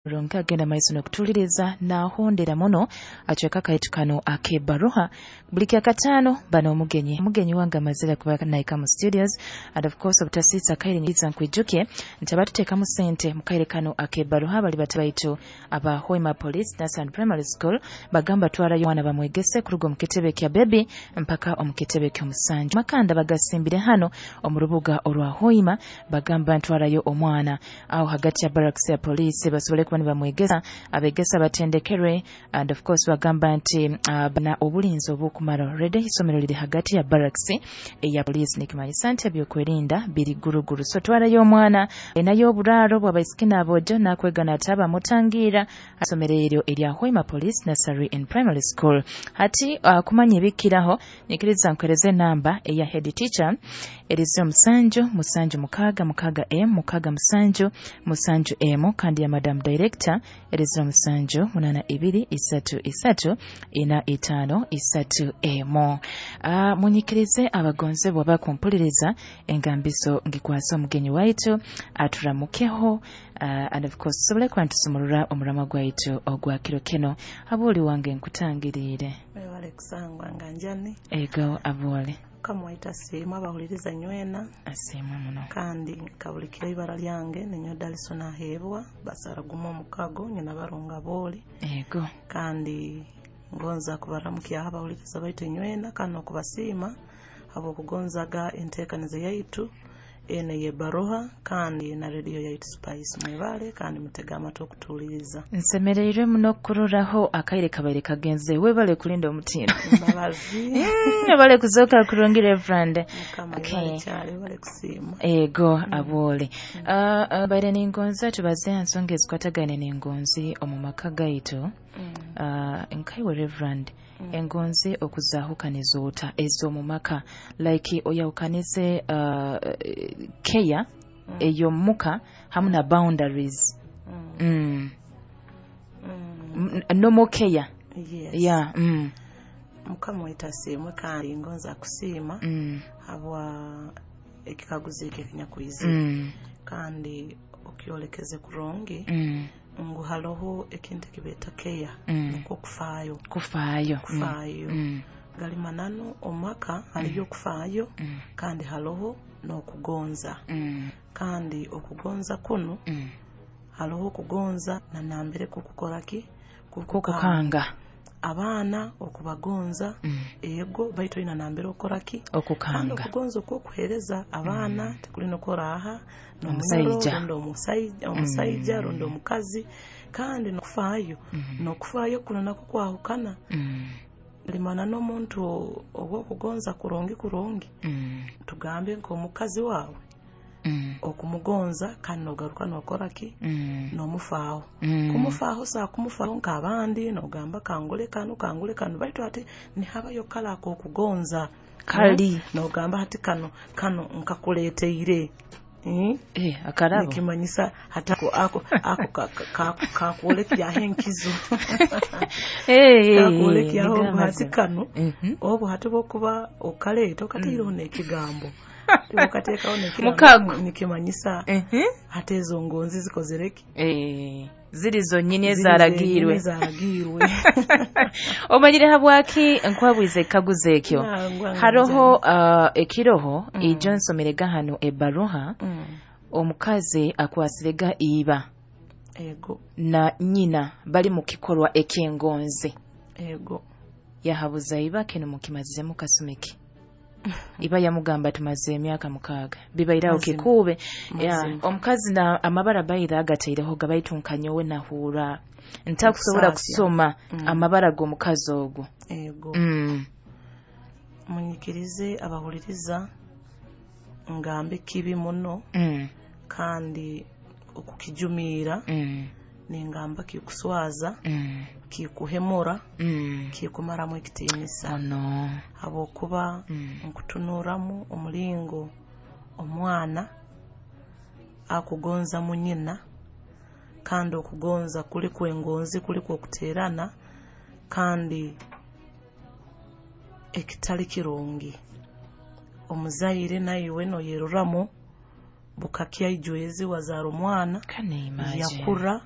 Ronke agenda maiso n'okutuuliriza n'ahondera muno acweka kaitu kano ak'ebbaruha buli kyakataano. Bano omugenyi wange amazire kuba naika mu studios, and of course obutasiisa kaire nyiza nkwijukye nti abatuteekamu sente mu kaire kano ak'ebbaruha bali bata baitu aba Hoima Police Nursery and Primary School. Bagamba twarayo omwana bamwegese kuruga omu kitebe kya bebi mpaka omu kitebe ky'omusanju. Makanda bagasimbire hano omu rubuga orwa Hoima. Bagamba ntwarayo omwana aho hagati ya barracks ya police basobole kuba nibamwegesa, abegesa batendekerwe, and of course bagamba nti na obulinzi obukumara. Already isomero liri hagati ya barracks eya police, nikimanyisa nti ebyokwerinda biri guruguru. So twarayo omwana enayo oburaaro bw'abaisiki n'aboojo nakwega nataba mutangira isomero eryo erya Hoima Police Nursery and Primary School. Hati kumanya ebikiraho, nyikiriza nkuhereze enamba eya head teacher, eri 0776 m 67 7 m, kandi ya madam director eri 0782 33 45 3 m. Munyikirize abagonzebwa bakumpuliriza, engambiso ngikwasa omugenyi waitu aturamukeho, and of course tusobole kuba ntusumurura omurama gwaitu ogwa kiro kino. Abooli wange, nkutangiriire. Webale kusangwa nga njani. Ego, aboole. Mukama waitu asiimwe, abahuliriza nywena. Asiimwe muno. Kandi nkabulikira ibara lyange ninyo Dalison Aheebwa basara gumu omukago nyina barunga booli. Ego. Kandi ngonza kubaramukyaho abahuliriza baitu nywena kandi n'okubasiima habw'okugonzaga enteekaniza yaitu eno ey'ebbaruha kandi na rediyo yaitu Spice. Mwebale kandi mutege amatu okutuuliriza. Nsemereirwe muno kukuroraho, akaire kabaire kagenze. Webale kulinda omutindo. Mbabazi. Webale kuzooka kurungi, Reverend. Mukama Okay. ebale kyali, ebale kusiima. Ego, aboole. Baire ningonza tubaze ha nsonga ezikwatagaine n'engonzi omu maka gaitu. Nkaiwe Reverend, engonzi okuzaahukaniza ota ez'omu maka, like oyahukanize care ey'omuka hamu na boundaries? No more care. Yes. Yeah. Mukama waitu asiimwe kandi ngonza kusiima habwa ekikaguzo ekyo ekinyakwizire, kandi okyolekeze kurungi ngu haroho ekintu ekibeeta care, nukwo kufaayo. Kufaayo. Kufaayo. Gali mananu omumaka haliyo okufaayo kandi haroho n'okugonza, kandi okugonza kunu, haroho okugonza nanambere kukukora ki? Kukukanga. Abaana okubagonza, ego, baitu oina nambere okora ki? Kandi okukanga. Okugonza okwokuheereza abaana tekuli nokora omusaija. Rundi omusaija rundi omukazi, kandi nokufaayo, nokufaayo kuno nakwo kwahukana. Limana n'omuntu obwokugonza kurungi kurungi, tugambe nk'omukazi waawe, okumugonza kandi nogaruka nokora ki? Nomufaaho. Kumufaaho saa kumufaaho nk'abandi nogamba kangule kanu, kangule kanu, baitu ate nihabayo kale ak'okugonza. Kali. Nogamba hati kano kano nkakuleeteire. Eh, akarabo. Nikimanyisa hati ako kakwolekyaho enkizo, kakwolekyaho ngu hati kano, obu hati bwokuba okaleeta okataireho n'ekigambo, okateekaho n'ekigambo, Mukago. nikimanyisa hati ezo ngonzi zikozere ki? Eh, ziri zonnyini Ziri ezaragiirwe. zenyini ezaragiirwe. Omanyire habwaki nkwabwize ekikaguzo ekyo? Nangwa. Haroho ekiroho ijo nsomerega hano ebbaruha, omukazi akwasirega iba na nyina bali mu kikorwa eky'engonzi. Yahabuza iba, "Kino mukimaziremu kasumi ki?" Iba yamugamba, "Tumaze emyaka 6 bibairaho." Mazima. Kikuube ya Mazima. Omukazi na amabara baira agataireho gabaitu nkanyowe nahuura ntakusobola Okusaasya. kusoma amabara g'omukazi ogwo. Ego. Munyikirize abahuliriza ngambe kibi muno, kandi okukijumiira, ningamba kikuswaza, kikuhemura, kikumaramu ekitiinisa, Ono. Habwokuba nkutunuramu omulingo omwana akugonza munyina, kandi okugonza kuli kwengonzi, kuli kwokuteerana, kandi ekitali kirungi omuzaire naiwe noyeruramu bukakya ijwezi wazaara omwana Can you imagine? yakura.